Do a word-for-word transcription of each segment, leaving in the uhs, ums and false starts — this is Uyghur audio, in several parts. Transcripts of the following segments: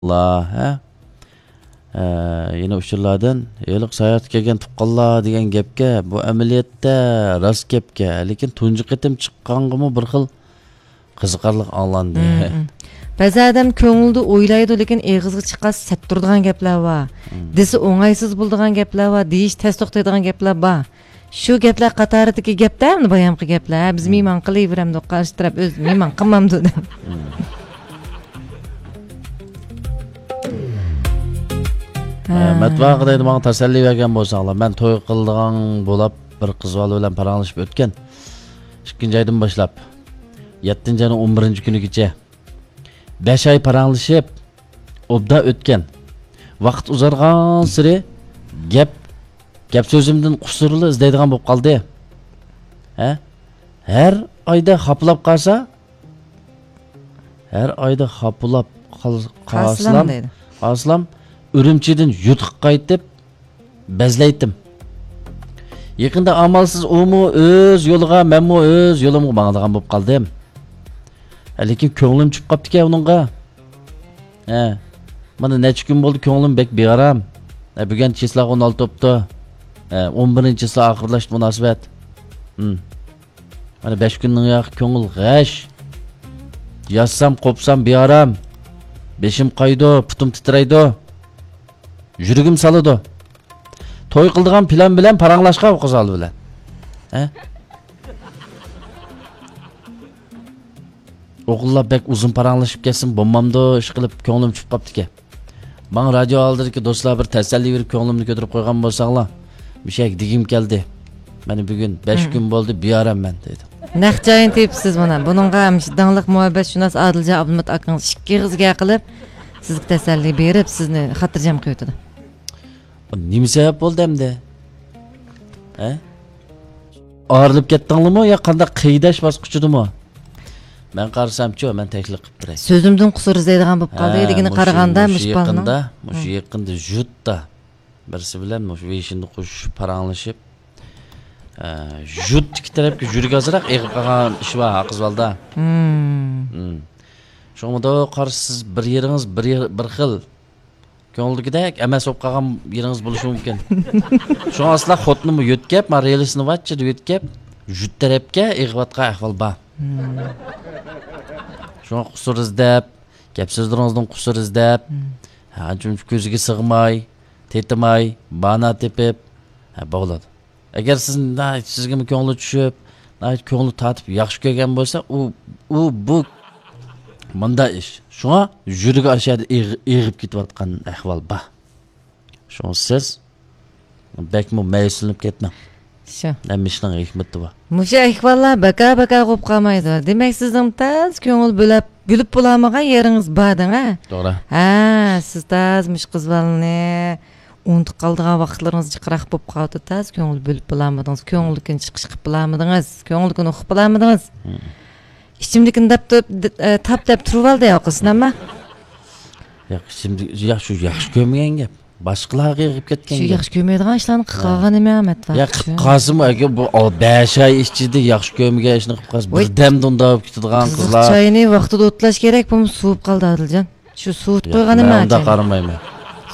لا، ھە؟ ھە، يەنە ئۇچۇرلاردىن، ھېلىقى ساياھەتكە كەلگەن تۇغقانلار دېگەن گەپكە، بۇ ئەمەلىيەتتە راست گەپكە، لېكىن تۇنجى قېتىم چىققانغىمۇ بىر خىل قىزىقارلىق ئاڭلاندى. مم، مم. بەزى ئادەم كۆڭلىدە ئويلايدۇ، لېكىن ئېغىزغا چىققاچ سەت تۇرىدىغان گەپلەر بار. مم. دېسە ئوڭايسىز بولىدىغان گەپلەر بار، دېيىش تەس توختايدىغان گەپلەر بار. شۇ گەپلەر قاتارىدىكى گەپتە، ئەمدى بايامقى گەپلەر، ھە، بىز مم. مېھمان قىلىۋېرەمدۇق، قارشى تەرەپ ئۆزى مېھمان قىلمامدۇ دەپ. مم. ھە. ھە، مەتبۇئاتقا دەيدۇ، ماڭا تەسەللى بەرگەن بولساڭلار، مەن توي قىلىدىغان بولاپ بىر قىز بالا بىلەن پاراڭلىشىپ ئۆتكەن. ئىككىنچى ئايدىن باشلاپ، يەتتىنچى ئاينىڭ ئون بىرىنچى كۈنىگىچە بەش ئاي پاراڭلىشىپ، ئوبدان ئۆتكەن. ۋاقىت ئۇزارغانسېرى گەپ، گەپ سۆزۈمدىن قۇسۇرلا ئىزدەيدىغان بولۇپ قالدى. ھە؟ ھەر ئايدا خاپىلاپ قالسا، ھەر ئايدا خاپىلاپ قال-، قالسىلام قالسىلام، دەيدۇ. قالسىلام، ئۈرۈمچىدىن يۇرتقا قايتىپ، بەزلەيتتىم. يېقىندا ئامالسىز ئۇمۇ ئۆز يولىغا، مەنمۇ ئۆز يولۇمغا ماڭىدىغان بولۇپ قالدىم. ھە، لېكىن كۆڭلۈم چۈشۈپ قاپتىكەن ئۇنىڭغا. ھە، مانا نەچچە كۈن بولدى، كۆڭلۈم بەك بىئارام. ھە، بۈگۈن چىسلاغا ئون ئالتە بوپتۇ. ھە، ئون بىرىنچى چىسلا ئاخىرلاشتى مۇناسىۋەت. ھىم. مانا بەش كۈندىن ياقى كۆڭۈل غەش. ياتسام، قوپسام بىئارام. بېشىم قايىدۇ، پۇتۇم تىترەيدۇ. يۈرىكىم سالىدۇ. توي قىلىدىغان پىلان بىلەن پاراڭلاشقان ئۇ قىز بالا بىلەن. ھە؟ ئوغۇللار بەك ئۇزۇن پاراڭلىشىپ كەتسىمۇ بولمامدۇ، ئىشقىلىپ كۆڭلۈم چۈشۈپ قاپتىكەن. ماڭا رادىيو ئالدىدىكى دوستلار بىر تەسەللى بېرىپ كۆڭلۈمنى كۆتۈرۈپ قويغان بولساڭلار، مۇشۇ يەرگە دېگۈم كەلدى. مانا بۈگۈن بەش مم. كۈن بولدى، بىئاراممەن دېدى. نەق جايىنى تېپىپسىز مانا. بۇنىڭغا مۇشۇ داڭلىق مۇھەببەتشۇناس ئادىلجان ئابلىمىت ئاكىڭىز ئىككى ئېغىز گەپ قىلىپ، سىزگە تەسەللى بېرىپ، سىزنى خاتىرجەم قىلىۋېتىدۇ. بۇ نېمە سەۋەب بولدى ئەمدى؟ ھە؟ ئايرىلىپ كەتتىڭلىمۇ يا قانداق قىيداش باسقۇچىدىمۇ؟ مەن قارىسامچۇ، مەن تەكلىپ قىلىپ بېرەي. سۆزۈمدىن قۇسۇر ئىزدەيدىغان بولۇپ قالدى ھە، دېگىنى مۇشۇ، قارىغاندا، مۇشۇ مۇشۇ بالىنىڭ. يېقىندا، مۇشۇ ھە. يېقىندا ژۇتتا بىرسى بىلەن مۇشۇ ۋېيشىندا قوشۇشۇپ پاراڭلىشىپ، ئە، ژۇت ئىككى تەرەپكە يۈرىكى ئازراق ئېغىپ قالغان ئىش بار ھە قىز بالىدا. مم. مم. شۇڭا مۇنداق قارىسىز، بىر يېرىڭىز بىر يېر-، بىر خىل كۆڭۈلدىكىدەك ئەمەس بولۇپ قالغان يېرىڭىز بولۇشى مۇمكىن. شۇڭا ئەسلا خوتۇنۇممۇ يۆتكەپ، ما رېلىسىنى ۋاچچىدە يۆتكەپ، ژۇت تەرەپكە ئېغىۋاتقان ئەھۋال بار. مم. شۇڭا قۇسۇر ئىزدەپ، گەپ سۆزلىرىڭىزدىن قۇسۇر ئىزدەپ، مم. ھە، ئانچە-مۇنچە كۆزىگە سىغماي، تېتىماي، بانا تېپىپ، ھە، بولىدۇ. ئەگەر سىز ناھايىتى سىزگىمۇ كۆڭلى چۈشۈپ، ناھايىتى كۆڭلى تارتىپ ياخشى كۆرگەن بولسا، ئۇ، ئۇ، بۇ مۇنداق ئىش. شۇڭا يۈرىكى ئاشۇ يەردە ئېغ-، ئېغىپ كېتىۋاتقان ئەھۋال بار. شۇڭا سىز بەكمۇ مەيۈسلىنىپ كەتمەڭ. شۇ. ھەممە ئىشنىڭ ھېكمىتى بار. مۇشۇ ئەھۋاللار بەكا-بەكا بولۇپ قالمايدۇ. دېمەك، سىزنىڭ تاز كۆڭۈل بۆلەپ، بۆلۈپ بولالمىغان يېرىڭىز بار دەڭ، ھە؟ توغرا. ھە، سىز تاز مۇشۇ قىز بالىنى ئۇنتۇپ قالىدىغان ۋاقىتلىرىڭىز جىقراق بولۇپ قالدى، تاز كۆڭۈل بۆلۈپ بولالمىدىڭىز، كۆڭۈلدىكىنى چىقىش قىلىپ بولالمىدىڭىز، كۆڭۈلدىكىنى ئۇقۇپ بولالمىدىڭىز. مم. ئىچىمدىكىنى دەپ تۇرۇپ، د-، ئە، تاپ دەپ تۇرۇۋالدى يا قىز، نەمە؟ ياق، ئىچىمدە، ياق، شۇ ياخشى كۆرمىگەن گەپ. باشقىلارغا ئېغىپ كەتكەن شۇ گەپ. ياخشى كۆرمەيدىغان ئىشلارنى قىلىپ ھە. قالغان نېمە ئەمەت ۋاقىت ياق، قىلىپ شۇ. قالسىمۇ، ئەگەر بۇ ئال-، بەش ئاي ئىچىدە ياخشى كۆرمىگەن ئىشنى قىلىپ قالسا، ۋاي. بىردەمدە ئۇنداق بولۇپ كېتىدىغان قىزىق قىزلار. چاينى ۋاقتىدا ئوتلاش كېرەك، بۇمۇ سوۋۇپ قالدى، ئادىلجان. شۇ سوۋۇتۇپ ياق، قويغان مەن نېمە ئۇنداق ئاچاينى؟ قارىمايمەن.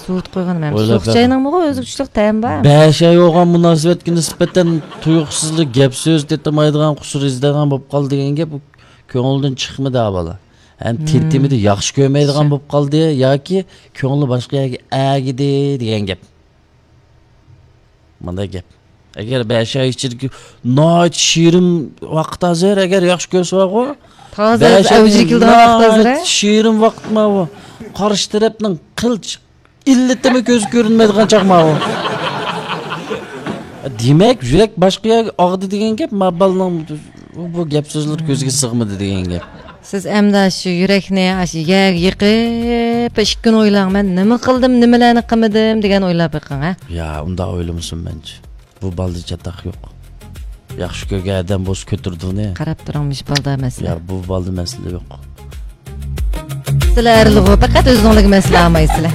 سوۋۇتۇپ قويغان نېمە؟ ئويلاپ سوغۇق بەقەي. چاينىڭمۇ ئۆزىگە چۈشلۈك تەمى بار. بەش ئاي بولغان مۇناسىۋەتكە نىسبەتەن تۇيۇقسىزلا گەپ سۆز تېتىمايدىغان، قۇسۇر ئىزدەيدىغان بولۇپ قالدى دېگەن گەپ، ئۇ كۆڭلىدىن چىقمىدى، ھە، بالا. ھەم مم. تېتىمىدى، ياخشى كۆرمەيدىغان شۇ. بولۇپ قالدى ياكى كۆڭلى باشقا يەرگە ئەگىدى دېگەن گەپ. مۇنداق گەپ. ئەگەر بەش ئاي ئىچىدىكى ناھايىتى شېرىن ۋاقىت ھازىر، ئەگەر ياخشى كۆرسە بارغۇ، تازا بەش ئاي ئەۋجىگە كېلىدىغان ۋاقىت ھازىر، ھە؟ ناھايىتى شېرىن ۋاقىت ماۋۇ. قارشى تەرەپنىڭ قىلچە ئىللىتىمۇ كۆزگە كۆرۈنمەيدىغان چاغ ماۋۇ. دېمەك، يۈرەك باشقا يەرگە ئاغدى دېگەن گەپ، ما بالىنىڭ بۇ، بۇ گەپ سۆزلىرى كۆزگە سىغمىدى دېگەن گەپ. سىز ئەمدى شۇ يۈرەكنى ئاشۇ يەرگە يېقىپ، ئىككى كۈن ئويلاڭ، مەن نېمە قىلدىم، نېمىلەرنى قىلمىدىم دېگەن ئويلاپ بېقىڭ، ھە؟ يا، ئۇنداق ئويلىمىسۇن مەنچە. بۇ بالىدا چاتاق يوق. ياخشى كۆرگەن ئادەم بولسا كۆتۈرىدۇ ئۇنى. قاراپ تۇرۇڭ، مۇشۇ بالىدا مەسىلە. يا، بۇ بالىدا مەسىلە يوق. سىلەر ئەرلىغۇ، پەقەت ئۆزۈڭلارگە مەسىلە ئالمايسىلەر.